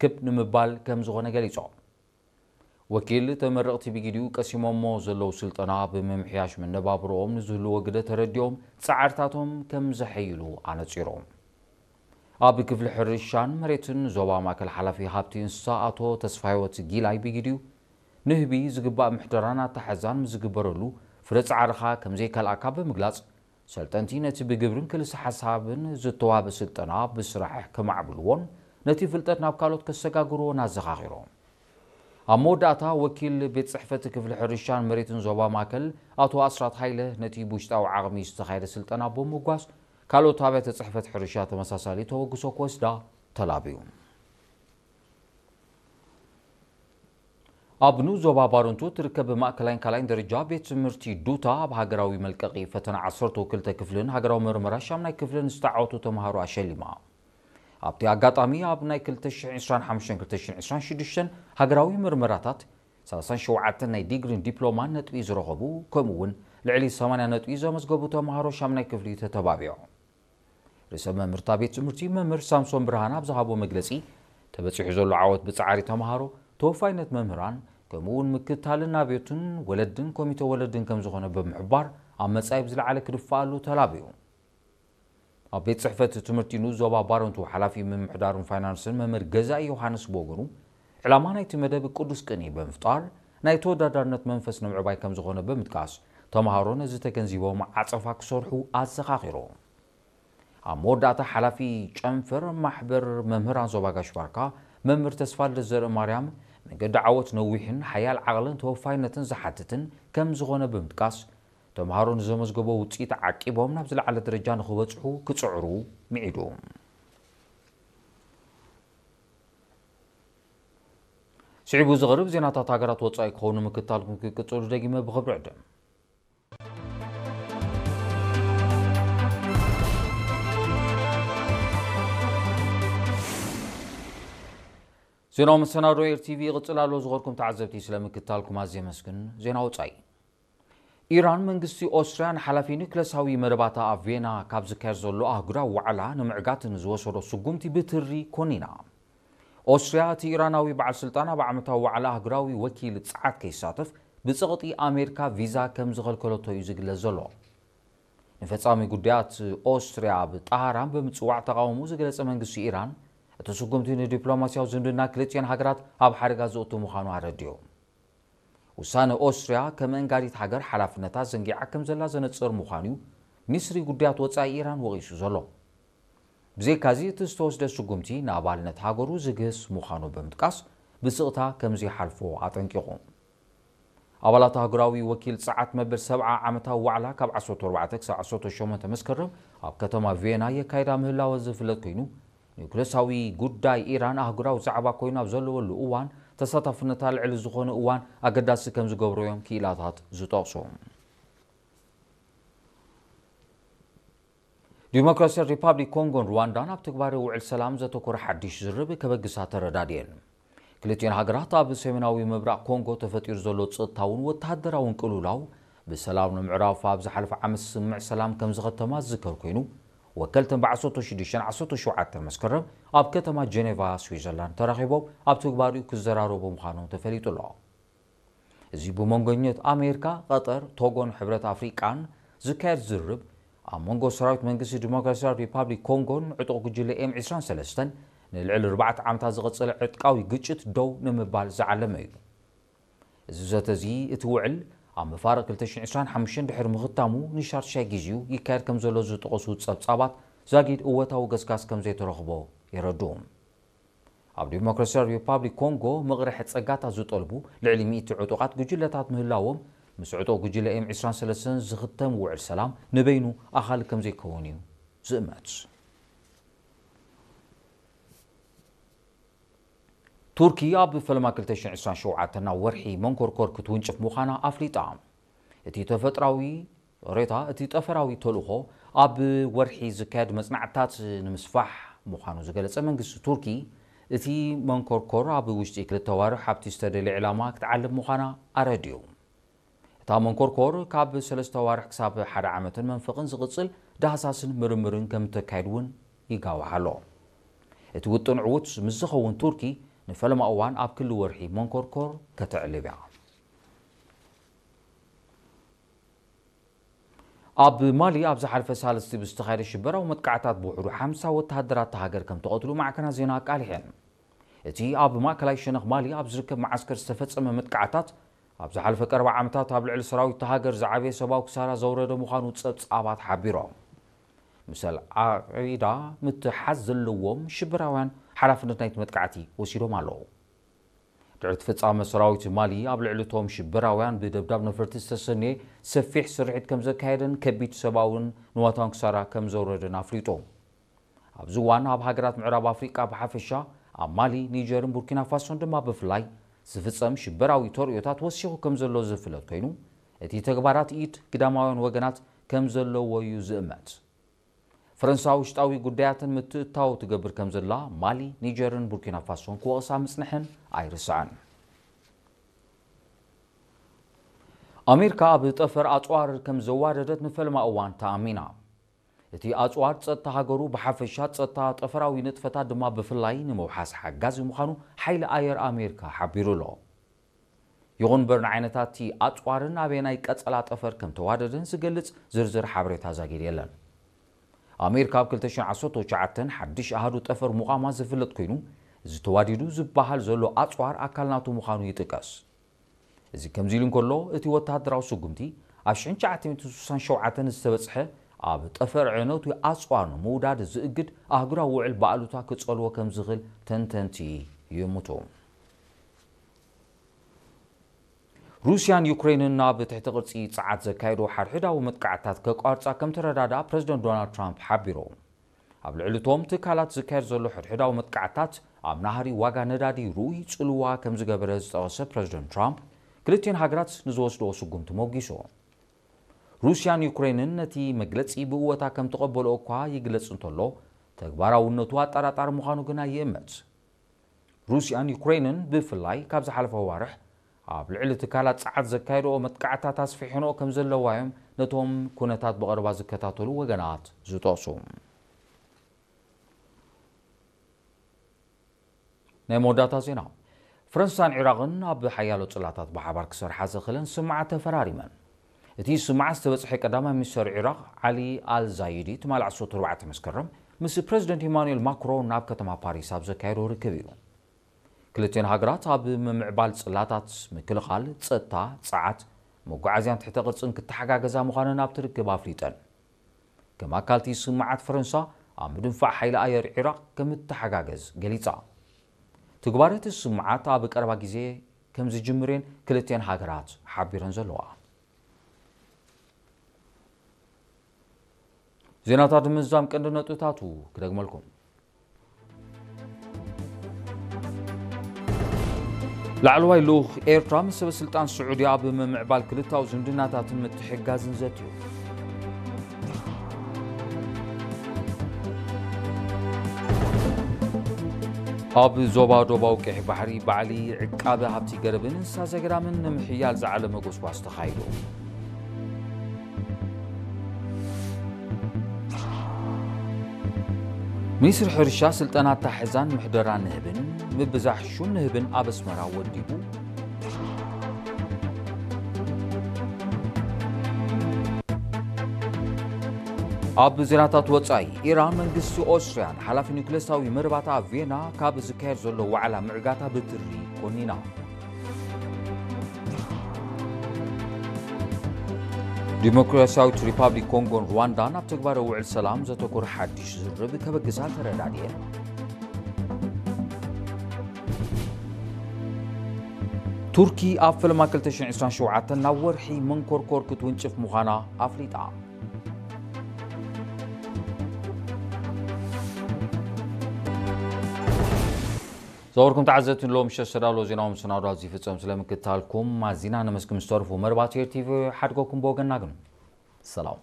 ክብ ንምባል ከም ዝኾነ ገሊጾም። ወኪል ተመረቕቲ ብጊዲኡ ቀሲሞሞ ዘለዉ ስልጠና ብምምሕያሽ መነባብሮኦም ንዝህልዎ ግደ ተረዲኦም ጻዕርታቶም ከም ዘሐይሉ ኣነጺሮም። ኣብ ክፍሊ ሕርሻን መሬትን ዞባ ማእከል ሓላፊ ሃብቲ እንስሳ ኣቶ ተስፋህይወት ጊላይ ብጊዲኡ ንህቢ ዝግባእ ምሕደራን ኣተሓሕዛን ምስ ዝግበረሉ ፍረ ጻዕርኻ ከም ዘይከልኣካ ብምግላጽ፣ ሰልጠንቲ ነቲ ብግብርን ክልሰ ሓሳብን ዝተዋህበ ስልጠና ብስራሕ ከማዕብልዎን ነቲ ፍልጠት ናብ ካልኦት ከሰጋግርዎን ኣዘኻኺሮም። ኣብ መወዳእታ ወኪል ቤት ጽሕፈት ክፍሊ ሕርሻን መሬትን ዞባ ማእከል ኣቶ ኣስራት ሃይለ ነቲ ብውሽጣዊ ዓቕሚ ዝተኻየደ ስልጠና ብምጉባዝ ካልኦት ኣብያተ ጽሕፈት ሕርሻ ተመሳሳሊ ተበግሶ ክወስዳ ተላብዩ። ኣብ ንኡስ ዞባ ባረንቱ እትርከብ ማእከላይን ካልኣይን ደረጃ ቤት ትምህርቲ ዱታ ኣብ ሃገራዊ መልቀቒ ፈተና ዓሰርተ ክልተ ክፍልን ሃገራዊ መርመራ ሻምናይ ክፍልን ዝተዓወቱ ተምሃሮ ኣሸሊማ። ኣብቲ ኣጋጣሚ ኣብ ናይ ክልተ ሽሕን ዕስራን ሓሙሽተን ክልተ ሽሕን ዕስራን ሽዱሽተን ሃገራዊ መርመራታት ሰላሳን ሸውዓተን ናይ ዲግሪን ዲፕሎማን ነጥቢ ዝረኸቡ፣ ከምኡ እውን ልዕሊ ሰማንያ ነጥቢ ዘመዝገቡ ተምሃሮ ሻምናይ ክፍሊ ተተባቢዖም። ርእሰ መምህርታ ቤት ትምህርቲ መምህር ሳምሶን ብርሃን ኣብ ዝሃቦ መግለጺ፣ ተበጺሑ ዘሎ ዓወት ብጻዕሪ ተምሃሮ፣ ተወፋይነት መምህራን፣ ከምኡ እውን ምክትታልን ናብዮትን ወለድን ኮሚተ ወለድን ከም ዝኾነ ብምሕባር፣ ኣብ መጻኢ ብዝለዓለ ክድፋኣሉ ተላብዩ። ኣብ ቤት ጽሕፈት ትምህርቲ ንኡስ ዞባ ባረንቱ ሓላፊ ምምሕዳርን ፋይናንስን መምህር ገዛኢ ዮሃንስ ብወገኑ፣ ዕላማ ናይቲ መደብ ቅዱስ ቅንኢ ብምፍጣር ናይ ተወዳዳርነት መንፈስ ንምዕባይ ከም ዝኾነ ብምጥቃስ፣ ተምሃሮ ነዚ ተገንዚቦም ዓጸፋ ክሰርሑ ኣዘኻኺሩ። ኣብ መወዳእታ ሓላፊ ጨንፈር ማሕበር መምህራን ዞባ ጋሽ ባርካ መምህር ተስፋልደት ዘርእማርያም፣ መንገዲ ዓወት ነዊሕን ሓያል ዓቕልን ተወፋይነትን ዝሓትትን ከም ዝኾነ ብምጥቃስ፣ ተምሃሮ ንዘመዝገቦ ውፅኢት ዓቂቦም ናብ ዝለዓለ ደረጃ ንኽበፅሑ ክፅዕሩ ምዒዱ። ስዒቡ ዝቐርብ ዜናታት ሃገራት ወፃኢ ክኸውን ምክታልኩም ክቅፅሉ ደጊመ ብኽብሪ ዕድም። ዜናዊ መሰናዶ ኤር ቲቪ ይቕጽል ኣሎ። ዝኸርኩም ተዓዘብቲ ስለ ምክታልኩም ኣዝየ መስግን። ዜና ወጻኢ። ኢራን መንግስቲ ኦስትርያ ንሓላፊ ኒክለሳዊ መደባታ ኣብ ቬና ካብ ዝካየድ ዘሎ ኣህጉራዊ ዋዕላ ንምዕጋት ንዝወሰዶ ስጉምቲ ብትሪ ኮኒና። ኦስትርያ እቲ ኢራናዊ በዓል ስልጣን ኣብ ዓመታዊ ዋዕላ ኣህጉራዊ ወኪል ጸዓት ከይሳተፍ ብጸቕጢ ኣሜሪካ ቪዛ ከም ዝኸልከለቶ እዩ ዝግለጽ ዘሎ። ንፈጻሚ ጉዳያት ኦስትርያ ኣብ ጣህራን ብምጽዋዕ ተቓውሞ ዝገለጸ መንግስቲ ኢራን፣ እቲ ስጉምቲ ንዲፕሎማስያዊ ዝምድና ክልቲኤን ሃገራት ኣብ ሓደጋ ዘእቱ ምዃኑ ኣረዲኡ። ውሳነ ኦስትርያ ከም መንጋሪት ሃገር ሓላፍነታ ዘንጊዓ ከም ዘላ ዘነጽር ምዃኑ እዩ ሚኒስትሪ ጉዳያት ወጻኢ ኢራን ወቒሱ ዘሎ። ብዘይካዚ እቲ ዝተወስደ ስጉምቲ ንኣባልነት ሃገሩ ዝግህስ ምዃኑ ብምጥቃስ ብስቕታ ከም ዘይሓልፎ ኣጠንቂቑ። ኣባላት ኣህጉራዊ ወኪል ጸዓት መበል ሰብዓ ዓመታዊ ዋዕላ ካብ ዓሰርተ ኣርባዕተ ክሳብ ዓሰርተ ሸሞንተ መስከረም ኣብ ከተማ ቪየና የካይዳ ምህላወ ዝፍለጥ ኮይኑ፣ ኒውክለሳዊ ጉዳይ ኢራን ኣህጉራዊ ዛዕባ ኮይኑ ኣብ ዘለወሉ እዋን ተሳታፍነታ ልዕሊ ዝኾነ እዋን ኣገዳሲ ከም ዝገብሮ እዮም ክኢላታት ዝጠቕሱ። ዲሞክራሲያዊ ሪፓብሊክ ኮንጎን ሩዋንዳን ኣብ ትግባረ ውዕል ሰላም ዘተኮረ ሓድሽ ዝርርብ ከበግሳ ተረዳድየን። ክልቲኤን ሃገራት ኣብ ሰሜናዊ ምብራቕ ኮንጎ ተፈጢሩ ዘሎ ጸጥታውን ወተሃደራውን ቅልውላው ብሰላም ንምዕራፍ ኣብ ዝሓለፈ ዓመት ስምምዕ ሰላም ከም ዝኸተማ ዝዝከር ኮይኑ፣ ወከልተን ብ ዓሰርተ ሽዱሽተን ዓሰርተ ሸውዓተን መስከረም ኣብ ከተማ ጀኔቫ ስዊዘርላንድ ተራኺቦም ኣብ ትግባሪኡ ክዘራረቡ ምዃኖም ተፈሊጡ ኣሎ። እዚ ብመንጎኘት ኣሜሪካ፣ ቀጠር፣ ቶጎን ሕብረት ኣፍሪቃን ዝካየድ ዝርርብ፣ ኣብ መንጎ ሰራዊት መንግስቲ ዲሞክራሲያዊ ሪፓብሊክ ኮንጎን ዕጡቕ ጉጅለ ኤም ዕስራን ሰለስተን ንልዕሊ ኣርባዕተ ዓመታት ዝቐጸለ ዕጥቃዊ ግጭት ደው ንምባል ዝዓለመ እዩ። እዚ ዘተ እዚ፣ እቲ ውዕል ኣብ መፋርቕ ክልተ ሽሕን ዕስራን ሓሙሽተን ድሕሪ ምኽታሙ ንሻድሻይ ግዜኡ ይካየድ ከም ዘሎ ዝጠቐሱ ጸብጻባት፣ ዛጊድ እወታዊ ገስጋስ ከም ዘይተረኽቦ የረድኡ። ኣብ ዲሞክራሲያዊ ሪፓብሊክ ኮንጎ ምቕርሒ ጸጋታት ዝጠልቡ ልዕሊ ሚእቲ ዕጡቓት ጉጅለታት ምህላዎም፣ ምስ ዕጡቕ ጉጅለ ኤም ዕስራን ሰለስተን ዝኽተም ውዕል ሰላም ንበይኑ ኣኻሊ ከም ዘይከውን እዩ ዝእመት። ቱርኪ ኣብ ፈለማ ክልተ ሽሕን ዕስራን ሸውዓተን ናብ ወርሒ መንኮርኮር ክትውንጭፍ ምዃና ኣፍሊጣ። እቲ ተፈጥራዊ ሬታ እቲ ጠፈራዊ ተልእኾ ኣብ ወርሒ ዝካየድ መጽናዕትታት ንምስፋሕ ምዃኑ ዝገለጸ መንግስቲ ቱርኪ፣ እቲ መንኮርኮር ኣብ ውሽጢ ክልተ ኣዋርሕ ኣብቲ ዝተደልየ ዕላማ ክትዓልብ ምዃና ኣረዲኡ። እታ መንኮርኮር ካብ ሰለስተ ኣዋርሕ ክሳብ ሓደ ዓመትን መንፈቕን ዝቕጽል ዳህሳስን ምርምርን ከም እተካይድ እውን ይጋዋሕ ኣሎ። እቲ ውጥን ዕዉት ምስ ዝኸውን ቱርኪ ንፈለማ እዋን ኣብ ክሊ ወርሒ መንኮርኮር ከተዕልብ እያ። ኣብ ማሊ ኣብ ዝሓለፈ ሳልስቲ ብዝተኻየደ ሽበራዊ መጥቃዕታት ብውሕዱ ሓምሳ ወተሃደራት እታ ሃገር ከም ተቐትሉ ማዕከናት ዜና ኣቃሊሐን። እቲ ኣብ ማእከላይ ሸነኽ ማሊ ኣብ ዝርከብ መዓስከር ዝተፈጸመ መጥቃዕታት ኣብ ዝሓለፈ ቀረባ ዓመታት ኣብ ልዕሊ ሰራዊት እታ ሃገር ዝዓበየ ሰብኣዊ ክሳራ ዘውረደ ምዃኑ ጸብጻባት ሓቢሮም። ምስ ኣልቃዒዳ ምትሓዝ ዘለዎም ሽበራውያን ሓላፍነት ናይቲ መጥቃዕቲ ወሲዶም ኣለዉ። ድሕሪ እቲ ፍጻመ ሰራዊት ማሊ ኣብ ልዕሊ እቶም ሽበራውያን ብደብዳብ ነፈርቲ ዝተሰነየ ሰፊሕ ስርሒት ከም ዘካየደን ከቢድ ሰብኣውን ንዋታውን ክሳራ ከም ዘውረደን ኣፍሊጡ። ኣብዚ እዋን ኣብ ሃገራት ምዕራብ ኣፍሪቃ ብሓፈሻ፣ ኣብ ማሊ፣ ኒጀርን ቡርኪና ፋሶን ድማ ብፍላይ ዝፍጸም ሽበራዊ ተርእዮታት ወሲኹ ከም ዘሎ ዝፍለጥ ኮይኑ፣ እቲ ተግባራት ኢድ ግዳማውያን ወገናት ከም ዘለዎ እዩ ዝእመት። ፈረንሳ ውሽጣዊ ጉዳያትን ምትእታው ትገብር ከም ዘላ ማሊ፣ ኒጀርን ቡርኪና ፋሶን ክወቕሳ ምጽንሐን ኣይርስዐን። ኣሜሪካ ኣብ ጠፈር ኣጽዋር ከም ዘዋደደት ንፈለማ እዋን ተኣሚና። እቲ ኣጽዋር ጸጥታ ሃገሩ ብሓፈሻ፣ ጸጥታ ጠፈራዊ ንጥፈታት ድማ ብፍላይ ንምውሓስ ሓጋዚ ምዃኑ ሓይሊ ኣየር ኣሜሪካ ሓቢሩ ኣሎ። ይኹን እምበር፣ ንዓይነታት እቲ ኣጽዋርን ኣበየናይ ቀጸላ ጠፈር ከም ተዋደደን ዝገልጽ ዝርዝር ሓበሬታ ዛጊድ የለን። ኣሜሪካ ኣብ ክልተ ሽሕን ዓሰርተ ትሽዓተን ሓድሽ ኣሃዱ ጠፈር ምቋማ ዝፍለጥ ኮይኑ፣ እዚ ተዋዲዱ ዝበሃል ዘሎ ኣጽዋር ኣካል ናቱ ምዃኑ ይጥቀስ። እዚ ከምዚ ኢሉ እንከሎ፣ እቲ ወተሃደራዊ ስጉምቲ ኣብ ሽሕን ትሽዓተ ሚእትን ስሳን ሸውዓተን ዝተበጽሐ ኣብ ጠፈር ዕነቱ ኣጽዋር ንምውዳድ ዝእግድ ኣህጉራዊ ውዕል ብኣሉታ ክጸልዎ ከም ዝኽእል ተንተንቲ ይእምቱ። ሩስያን ዩክሬንን ናብ ትሕቲ ቅርጺ ጸዓት ዘካየዶ ሓድሕዳዊ መጥቃዕትታት ከቋርጻ ከም ተረዳድኣ ፕረዚደንት ዶናልድ ትራምፕ ሓቢሩ። ኣብ ልዕሊ እቶም ትካላት ዝካየድ ዘሎ ሕድሕዳዊ መጥቃዕትታት ኣብ ናህሪ ዋጋ ነዳዲ ርኡይ ጽልዋ ከም ዝገበረ ዝጠቐሰ ፕረዚደንት ትራምፕ፣ ክልቲኤን ሃገራት ንዝወስድኦ ስጉምቲ ሞጊሱ። ሩስያን ዩክሬንን ነቲ መግለጺ ብእወታ ከም ተቐበልኦ እኳ ይግለጽ እንተሎ፣ ተግባራውነቱ ኣጠራጣሪ ምዃኑ ግና ይእመት። ሩስያን ዩክሬንን ብፍላይ ካብ ዝሓለፈ ኣዋርሕ ኣብ ልዕሊ ትካላት ጸዓት ዘካየድኦ መጥቃዕትታት ኣስፊሐንኦ ከም ዘለዋ እዮም ነቶም ኩነታት ብቐረባ ዝከታተሉ ወገናት ዝጠቕሱ። ናይ መወዳእታ ዜና። ፈረንሳን ዒራቕን ኣብ ሓያሎ ጽላታት ብሓባር ክሰርሓ ዘኽእለን ስምምዓት ተፈራሪመን። እቲ ስምምዓት ዝተበጽሐ ቀዳማይ ሚኒስተር ዒራቕ ዓሊ ኣል ዛይዲ ትማሊ ዓሰርተ ኣርባዕተ መስከረም ምስ ፕረዚደንት ኢማኑኤል ማክሮን ኣብ ከተማ ፓሪስ ኣብ ዘካየዶ ርክብ እዩ። ክልቲኤን ሃገራት ኣብ ምምዕባል ጽላታት፣ ምክልኻል፣ ጸጥታ፣ ጸዓት፣ መጓዓዝያን ትሕተ ቅርጽን ክተሓጋገዛ ምዃነን ኣብቲ ርክብ ኣፍሊጠን። ከም ኣካል እቲ ስምምዓት፣ ፈረንሳ ኣብ ምድንፋዕ ሓይሊ ኣየር ዒራቕ ከም እትተሓጋገዝ ገሊጻ። ትግባረ እቲ ስምምዓት ኣብ ቀረባ ግዜ ከም ዝጅምር እየን ክልቲኤን ሃገራት ሓቢረን ዘለዋ። ዜናታት ንምዝዛም ቀንዲ ነጥብታቱ ክደግመልኩም። ላዕለዋይ ልኡኽ ኤርትራ ምስ ሰበ ስልጣን ስዑዲ ኣብ ምምዕባል ክልታዊ ዝምድናታትን ምትሕግጋዝን ዘትዩ። ኣብ ዞባ ደቡባዊ ቀይሕ ባሕሪ ባዕሊ ዕቃበ ሃብቲ ገረብን እንስሳ ዘገዳምን ንምሕያል ዝዓለመ ጎስጓስ ተኻይዱ። ሚኒስትሪ ሕርሻ ስልጠና ኣታሕዛን ምሕደራ ንህብን ምብዛሕ ሹም ንህብን ኣብ ኣስመራ ወዲቡ። ኣብ ዜናታት ወጻኢ፣ ኢራን መንግስቲ ኦስትርያን ሓላፊ ኒውክለሳዊ መደባታ ኣብ ቪየና ካብ ዝካየድ ዘሎ ዋዕላ ምዕጋታ ብትሪ ኮኒና። ዲሞክራሲያዊት ሪፓብሊክ ኮንጎን ሩዋንዳን ኣብ ተግባራዊ ውዕል ሰላም ዘተኮረ ሓድሽ ዝርርብ ከበግሳ ተረዳድኤን። ቱርኪ ኣብ ፈለማ ክልተ ሽሕን ዕስራን ሸውዓተን ናብ ወርሒ መንኮርኮር ክትውንጭፍ ምዃና ኣፍሊጣ። ዝኸበርኩም ተዓዘብቲ፣ ንሎሚ ምሸት ዝተዳለወ ዜናዊ መሰናዶ ኣብዚ ይፍጸም። ስለምክትታልኩም ኣዚና ነመስግን። ምስ ተርፉ መርባት ኤር ቲቪ ሓድጎኩም ብወገንና ግን ሰላም።